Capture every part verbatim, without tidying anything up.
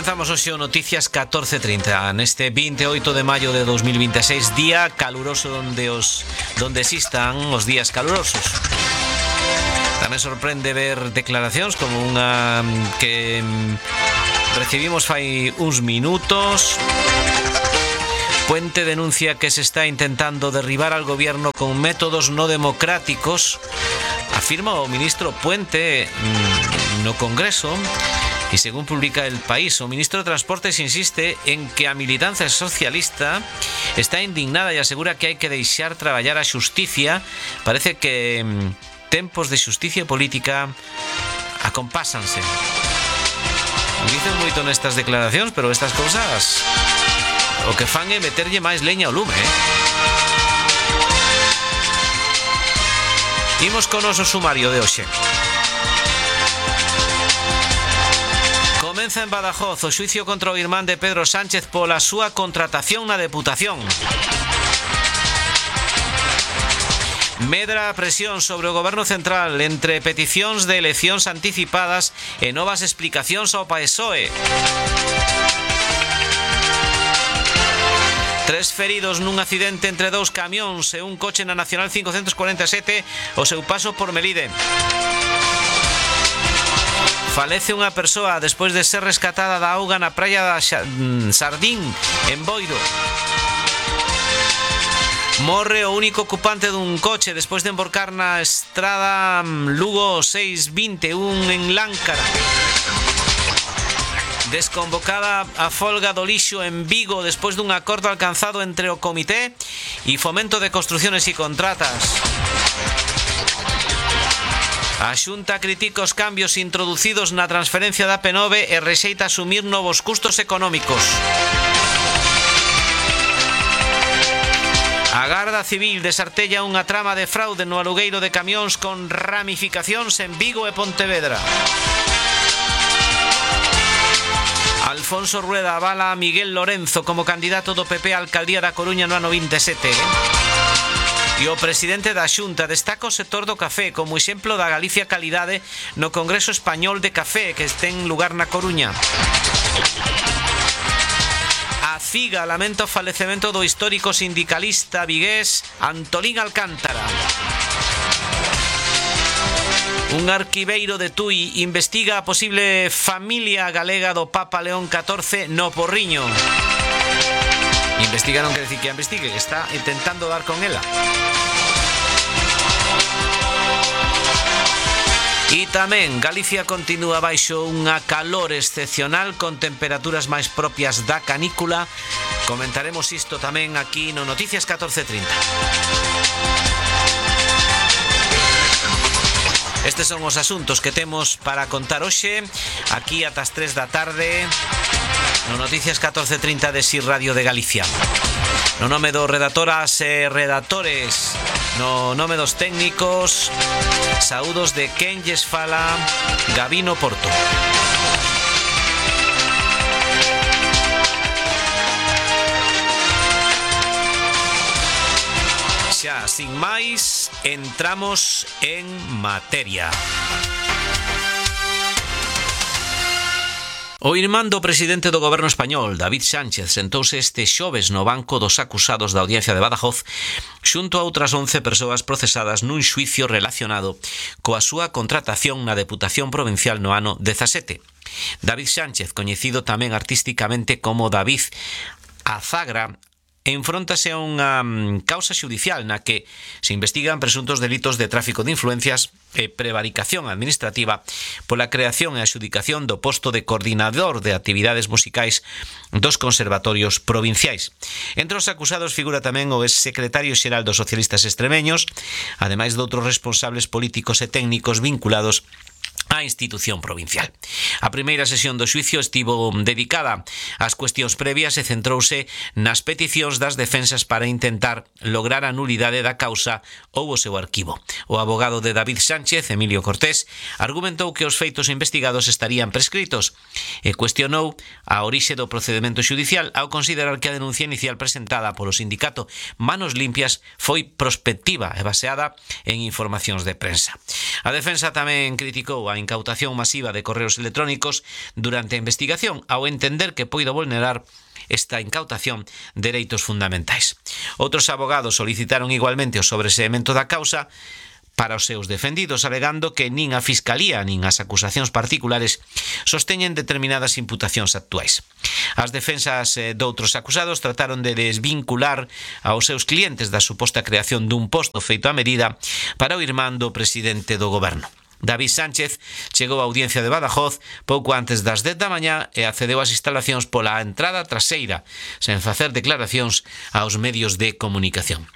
comenzamos hoxe o Noticias catorce trinta neste vinte e oito de maio de dos mil vinte e seis, día caluroso donde os donde existan os días calurosos. Tamén sorprende ver declaracións como unha que recibimos fai uns minutos. Puente denuncia que se está intentando derribar al gobierno con métodos no democráticos, afirma o ministro Puente no Congreso. Y según publica El País, o ministro de Transportes insiste en que a militancia socialista está indignada e asegura que hai que deixar traballar a xusticia. Parece que mm, tempos de xusticia política acompásanse. Dicen moito nestas declaracións, pero estas cousas o que fan é meterlle máis leña ao lume, eh? Imos con o noso sumario de hoxe. Comeza en Badajoz o xuicio contra o irmán de Pedro Sánchez pola súa contratación na Deputación. Medra a presión sobre o Goberno Central entre peticións de eleccións anticipadas e novas explicacións ao P S O E. Tres feridos nun accidente entre dous camións e un coche na Nacional cincocentos cuarenta e sete o seu paso por Melide. Falece unha persoa despois de ser rescatada da auga na praia da Sardín, en Boiro. Morre o único ocupante dun coche despois de emborcar na estrada Lugo seiscentos e vinte e un en Láncara. Desconvocada a folga do lixo en Vigo despois dun acordo alcanzado entre o Comité e Fomento de Construciones e Contratas. A Xunta critica os cambios introducidos na transferencia da P nove e rexeita asumir novos custos económicos. A Garda Civil desartella unha trama de fraude no alugueiro de camións con ramificacións en Vigo e Pontevedra. Alfonso Rueda avala a Miguel Lorenzo como candidato do P P á alcaldía da Coruña no ano vinte e sete. E o presidente da Xunta destaca o sector do café como exemplo da Galicia calidade no Congreso Español de Café que ten lugar na Coruña. A CIGA lamenta o falecemento do histórico sindicalista vigués Antolín Alcántara. Un arquiveiro de Tui investiga a posible familia galega do Papa León catorce no Porriño. Investiga non quer decir que a investigue, que está intentando dar con ela. E tamén Galicia continúa baixo unha calor excepcional con temperaturas máis propias da canícula. Comentaremos isto tamén aquí no Noticias catorce trinta. Estes son os asuntos que temos para contar hoxe aquí ata as tres da tarde no Noticias catorce trinta de S I Radio de Galicia. No nome dos redactoras e redactores, no nome dos técnicos, saúdos de quen lles fala, Gabino Porto. Xa, sin máis, entramos en materia. O irmán do presidente do goberno español, David Sánchez, sentouse este xoves no banco dos acusados da Audiencia de Badajoz xunto a outras once persoas procesadas nun xuicio relacionado coa súa contratación na Deputación Provincial no ano dezasete. David Sánchez, coñecido tamén artísticamente como David Azagra, enfróntase a unha causa xudicial na que se investigan presuntos delitos de tráfico de influencias e prevaricación administrativa pola creación e adxudicación do posto de coordinador de actividades musicais dos conservatorios provinciais. Entre os acusados figura tamén o exsecretario xeral dos socialistas extremeños, ademais de outros responsables políticos e técnicos vinculados á institución provincial. A primeira sesión do xuicio estivo dedicada ás cuestións previas e centrouse nas peticións das defensas para intentar lograr a nulidade da causa ou o seu arquivo. O abogado de David Sánchez, Emilio Cortés, argumentou que os feitos investigados estarían prescritos e cuestionou a orixe do procedemento xudicial ao considerar que a denuncia inicial presentada polo sindicato Manos Limpias foi prospectiva e baseada en informacións de prensa. A defensa tamén criticou a incautación masiva de correos electrónicos durante a investigación, ao entender que poido vulnerar esta incautación dereitos fundamentais. Outros abogados solicitaron igualmente o sobreseemento da causa para os seus defendidos, alegando que nin a Fiscalía nin as acusacións particulares sosteñen determinadas imputacións actuais. As defensas eh, doutros acusados trataron de desvincular aos seus clientes da suposta creación dun posto feito a medida para o irmán do presidente do goberno. David Sánchez chegou á audiencia de Badajoz pouco antes das dez da mañá e accedeu ás instalacións pola entrada traseira, sen facer declaracións aos medios de comunicación.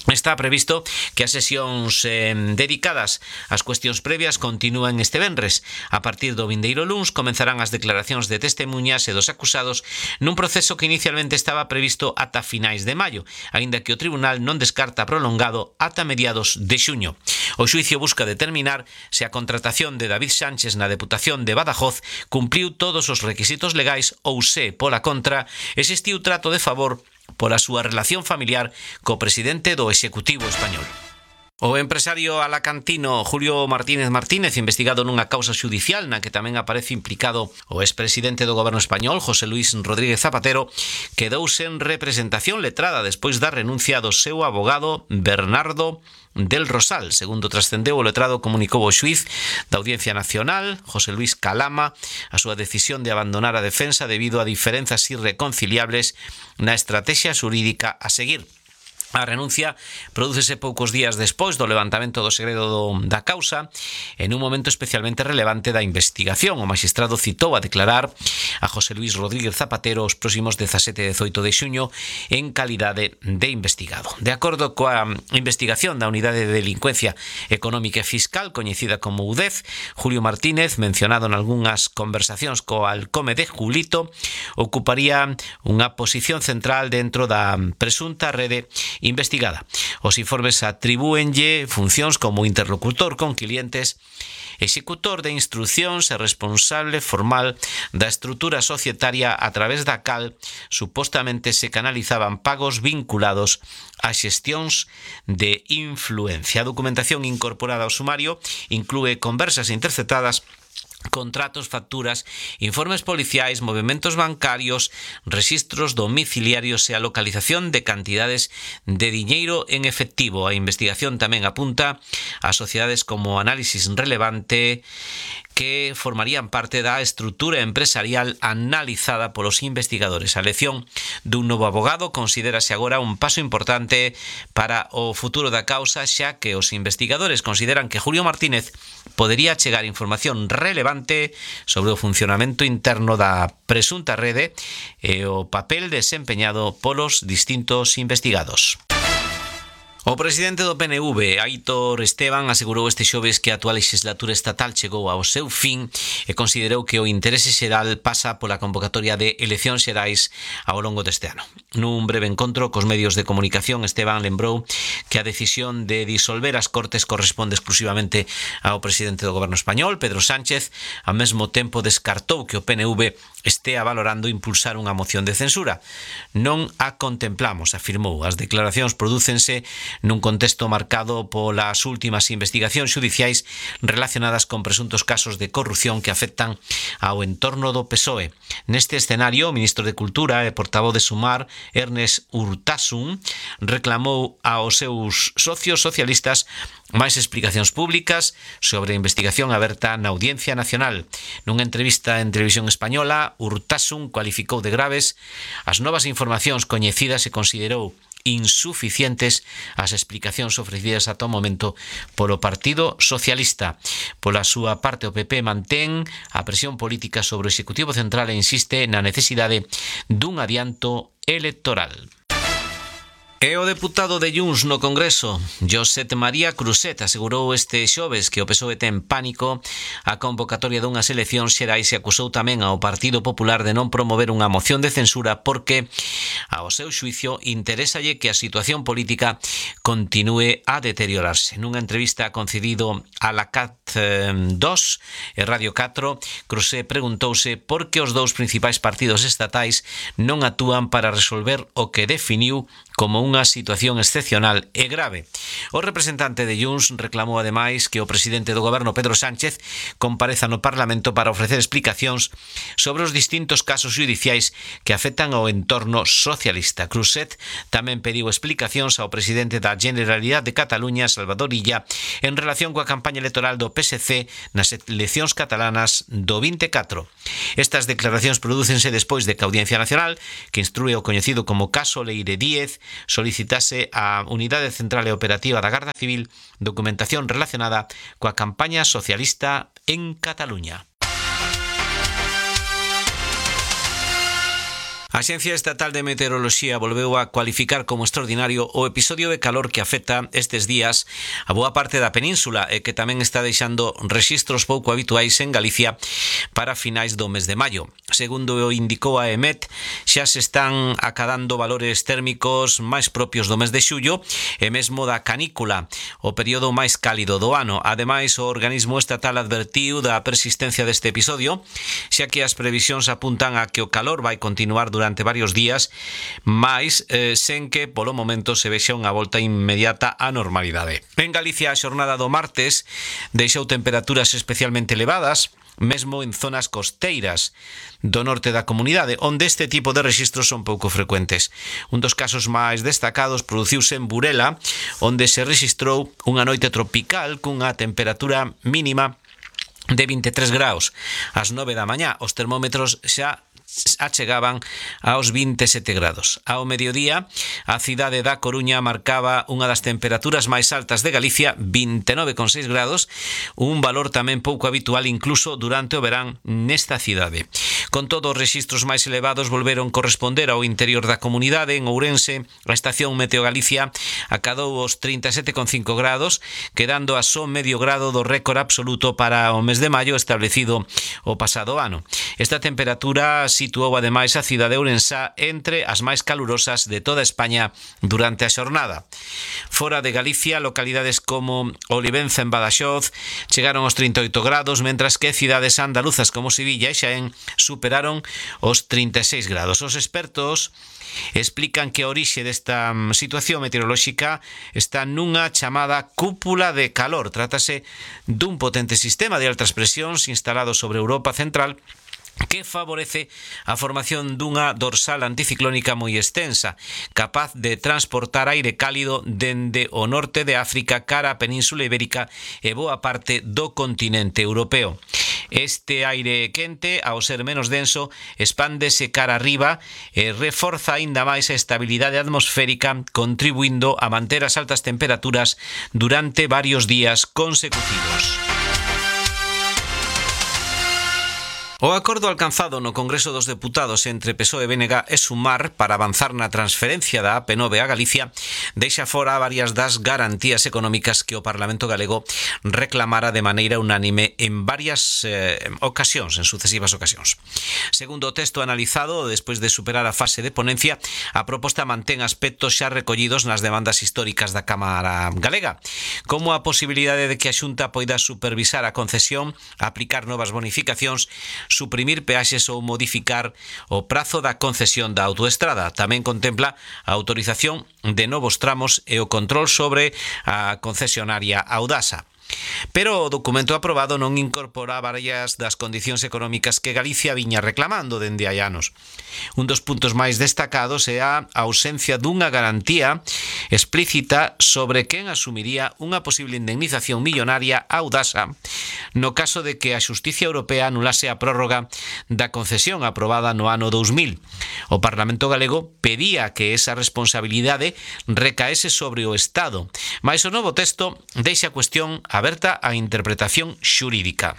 Está previsto que as sesións eh, dedicadas ás cuestións previas continúen este venres. A partir do vindeiro luns comenzarán as declaracións de testemunhas e dos acusados nun proceso que inicialmente estaba previsto ata finais de maio, aínda que o tribunal non descarta prolongado ata mediados de xuño. O xuicio busca determinar se a contratación de David Sánchez na Deputación de Badajoz cumpriu todos os requisitos legais ou se, pola contra, existiu trato de favor pola súa relación familiar co presidente do Executivo español. O empresario alacantino Julio Martínez Martínez, investigado nunha causa xudicial na que tamén aparece implicado o expresidente do goberno español, José Luis Rodríguez Zapatero, quedou sen representación letrada despois da renuncia do seu abogado Bernardo del Rosal. Segundo trascendeu, o letrado comunicou ao xuiz da Audiencia Nacional, José Luis Calama, a súa decisión de abandonar a defensa debido a diferenzas irreconciliables na estrategia xurídica a seguir. A renuncia prodúcese poucos días despois do levantamento do segredo do, da causa, en un momento especialmente relevante da investigación. O magistrado citou a declarar a José Luis Rodríguez Zapatero os próximos dezasete e dezoito de xuño en calidade de investigado. De acordo coa investigación da Unidade de Delincuencia Económica e Fiscal, coñecida como U D E F, Julio Martínez, mencionado en algunhas conversacións co alcome de Julito, ocuparía unha posición central dentro da presunta rede investigada. Os informes atribúenlle funcións como interlocutor con clientes, executor de instruccións e responsable formal da estrutura societaria a través da cal supostamente se canalizaban pagos vinculados a xestións de influencia. A documentación incorporada ao sumario inclúe conversas interceptadas, contratos, facturas, informes policiais, movementos bancarios, registros domiciliarios e a localización de cantidades de diñeiro en efectivo. A investigación tamén apunta a sociedades como Análisis Relevante, que formarían parte da estrutura empresarial analizada polos investigadores. A elección dun novo abogado considérase agora un paso importante para o futuro da causa, xa que os investigadores consideran que Julio Martínez podería chegar información relevante sobre o funcionamento interno da presunta rede e o papel desempeñado polos distintos investigados. O presidente do P N V, Aitor Esteban, asegurou este xoves que a actual legislatura estatal chegou ao seu fin e considerou que o interese xeral pasa pola convocatoria de eleccións xerais ao longo deste ano. Nun breve encontro cos medios de comunicación, Esteban lembrou que a decisión de disolver as Cortes corresponde exclusivamente ao presidente do goberno español, Pedro Sánchez. Ao mesmo tempo descartou que o P N V estea valorando impulsar unha moción de censura. Non a contemplamos, afirmou. As declaracións prodúcense nun contexto marcado polas últimas investigacións xudiciais relacionadas con presuntos casos de corrupción que afectan ao entorno do P S O E. Neste escenario, o ministro de Cultura e portavoz de Sumar, Ernest Urtasun, reclamou aos seus socios socialistas máis explicacións públicas sobre a investigación aberta na Audiencia Nacional. Nunha entrevista en Televisión Española, Urtasun cualificou de graves as novas informacións coñecidas e considerou insuficientes as explicacións ofrecidas ata o momento polo Partido Socialista. Pola súa parte, o P P mantén a presión política sobre o Executivo Central e insiste na necesidade dun adianto electoral. E o deputado de Junts no Congreso, Josep María Cruzet, asegurou este xoves que o P S O E ten pánico a convocatoria dunhas eleccións xerais e acusou tamén ao Partido Popular de non promover unha moción de censura porque, ao seu xuicio, interésalle que a situación política continúe a deteriorarse. Nunha entrevista concedido a la C A T dos e Radio catro, Cruzet preguntouse por que os dous principais partidos estatais non actúan para resolver o que definiu como unha situación excepcional e grave. O representante de Junts reclamou ademais que o presidente do goberno Pedro Sánchez compareza no Parlamento para ofrecer explicacións sobre os distintos casos judiciais que afectan ao entorno socialista. Cruzet tamén pediu explicacións ao presidente da Generalidade de Cataluña, Salvador Illa, en relación coa campaña electoral do P S C nas eleccións catalanas do vinte e catro. Estas declaracións prodúcense despois de que a Audiencia Nacional, que instrúe o coñecido como caso Leire Díez, solicitase á Unidade Central e Operativa da Garda Civil documentación relacionada coa campaña socialista en Cataluña. A Axencia Estatal de Meteoroloxía volveu a cualificar como extraordinario o episodio de calor que afecta estes días a boa parte da península e que tamén está deixando rexistros pouco habituais en Galicia para finais do mes de maio. Segundo o indicou a EMET, xa se están acadando valores térmicos máis propios do mes de xullo e mesmo da canícula, o período máis cálido do ano. Ademais, o organismo estatal advertiu da persistencia deste episodio, xa que as previsións apuntan a que o calor vai continuar durante durante varios días, mais eh, sen que polo momento se vexa unha volta inmediata á normalidade. En Galicia, a xornada do martes deixou temperaturas especialmente elevadas, mesmo en zonas costeiras do norte da comunidade, onde este tipo de rexistros son pouco frecuentes. Un dos casos máis destacados produciuse en Burela, onde se rexistrou unha noite tropical cunha temperatura mínima de vinte e tres graus. Ás nove da mañá, os termómetros xa achegaban aos vinte e sete grados. Ao mediodía, a cidade da Coruña marcaba unha das temperaturas máis altas de Galicia, vinte e nove coma seis grados, un valor tamén pouco habitual incluso durante o verán nesta cidade. Con todo, os rexistros máis elevados volveron corresponder ao interior da comunidade. En Ourense, a estación Meteo Galicia acadou os trinta e sete coma cinco grados, quedando a só medio grado do récord absoluto para o mes de maio establecido o pasado ano. Esta temperatura situou ademais a cidade de Ourense entre as máis calurosas de toda España durante a xornada. Fora de Galicia, localidades como Olivenza en Badaxoz chegaron aos trinta e oito grados, mentras que cidades andaluzas como Sevilla e Xaén superaron os trinta e seis grados. Os expertos explican que a orixe desta situación meteorolóxica está nunha chamada cúpula de calor. Trátase dun potente sistema de altas presións instalado sobre Europa Central que favorece a formación dunha dorsal anticiclónica moi extensa, capaz de transportar aire cálido dende o norte de África cara a Península Ibérica e boa parte do continente europeo. Este aire quente, ao ser menos denso, expándese cara arriba e reforza aínda máis a estabilidade atmosférica, contribuindo a manter as altas temperaturas durante varios días consecutivos. O acordo alcanzado no Congreso dos Deputados entre P S O E, B N G e Sumar para avanzar na transferencia da A P nove a Galicia deixa fora varias das garantías económicas que o Parlamento galego reclamara de maneira unánime en varias eh, ocasións, en sucesivas ocasións. Segundo o texto analizado, despois de superar a fase de ponencia, a proposta mantén aspectos xa recollidos nas demandas históricas da Cámara Galega, como a posibilidade de que a Xunta poida supervisar a concesión, aplicar novas bonificacións, suprimir peaxes ou modificar o prazo da concesión da autoestrada. Tamén contempla a autorización de novos tramos e o control sobre a concesionaria Audasa. Pero o documento aprobado non incorpora varias das condicións económicas que Galicia viña reclamando dende hai anos. Un dos puntos máis destacados é a ausencia dunha garantía explícita sobre quen asumiría unha posible indemnización millonaria a Audasa no caso de que a Xustiza Europea anulase a prórroga da concesión aprobada no ano dous mil. O Parlamento galego pedía que esa responsabilidade recaese sobre o Estado, mais o novo texto deixa a cuestión aberta á interpretación xurídica.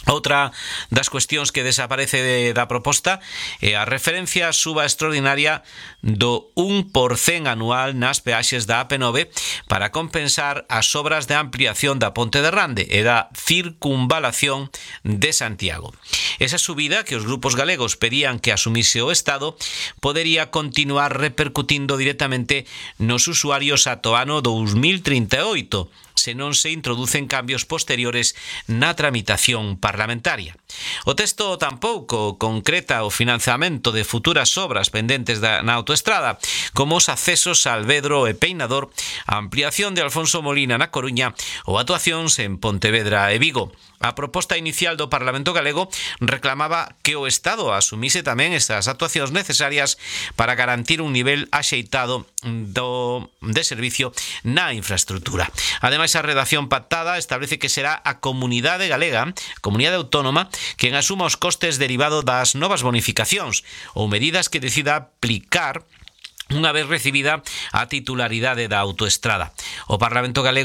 Outra das cuestións que desaparece de, da proposta é a referencia á suba extraordinaria do un por cento anual nas peaxes da A P nove para compensar as obras de ampliación da Ponte de Rande e da circunvalación de Santiago. Esa subida que os grupos galegos pedían que asumise o Estado podería continuar repercutindo directamente nos usuarios ata o ano dous mil trinta e oito, se non se introducen cambios posteriores na tramitación parlamentaria. O texto tampouco concreta o financiamento de futuras obras pendentes da, na autoestrada, como os accesos a Alvedro e Peinador, a ampliación de Alfonso Molina na Coruña ou actuacións en Pontevedra e Vigo. A proposta inicial do Parlamento galego reclamaba que o Estado asumise tamén estas actuacións necesarias para garantir un nivel axeitado do, de servicio na infraestructura. Ademais, a redacción pactada establece que será a comunidade galega, a comunidade autónoma, quen asuma os costes derivados das novas bonificacións ou medidas que decida aplicar unha vez recibida a titularidade da autoestrada. O Parlamento galego